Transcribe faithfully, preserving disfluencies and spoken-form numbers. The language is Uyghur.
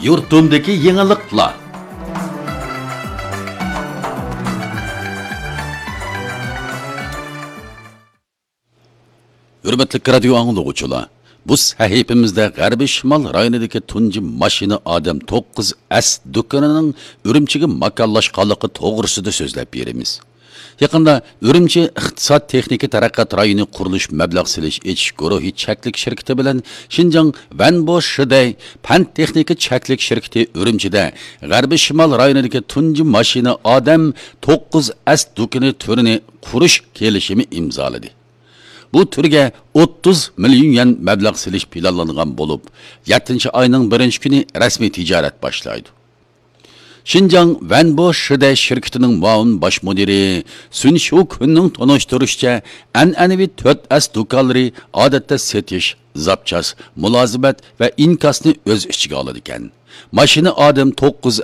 يۇرتۇمدىكى يېڭىلىقلار. ھۆرمەتلىك رادىيو ئاڭلىغۇچىلار، بۇ سەھىپىمىزدە غەربىي شىمال رايونىدىكى تۇنجى ماشىنا ئادەم توققۇز ئەس دۇكىنىنىڭ ئۈرۈمچىگە ماكانلاشقانلىقى توغرىسىدا سۆزلەپ بېرىمىز. يېقىندا ئۈرۈمچى ئىقتىساد تېخنىكا تەرەققىيات رايونى قۇرۇلۇش مەبلەغ سېلىش ئېچىش گۇرۇھى چەكلىك شىركىتى بىلەن شىنجاڭ ۋەنبو شىدەي پەن تېخنىكا چەكلىك شىركىتى ئۈرۈمچىدە غەربىي شىمال رايونىدىكى تۇنجى ماشىنا ئادەم توققۇز ئەس دۇكىنى تۈرىنى قۇرۇش كېلىشىمى ئىمزالىدى. بۇ تۈرگە ئوتتۇز مىليون يۈەن مەبلەغ سېلىش پىلانلانغان بولۇپ، يەتتىنچى ئاينىڭ بىرىنچى كۈنى رەسمىي تىجارەت باشلايدۇ. شىنجاڭ ۋەنبو شىدەي شىركىتىنىڭ مۇئاۋىن باش مۇدىرى سۈن شۇكۈننىڭ تونۇشتۇرۇشىچە، ئەنئەنىۋى تۆت ئەس دۇكانلىرى ئادەتتە سېتىش، زاپچاس، مۇلازىمەت ۋە ئىنكاسنى ئۆز ئىچىگە ئالىدىكەن. ماشىنا ئادەم توققۇز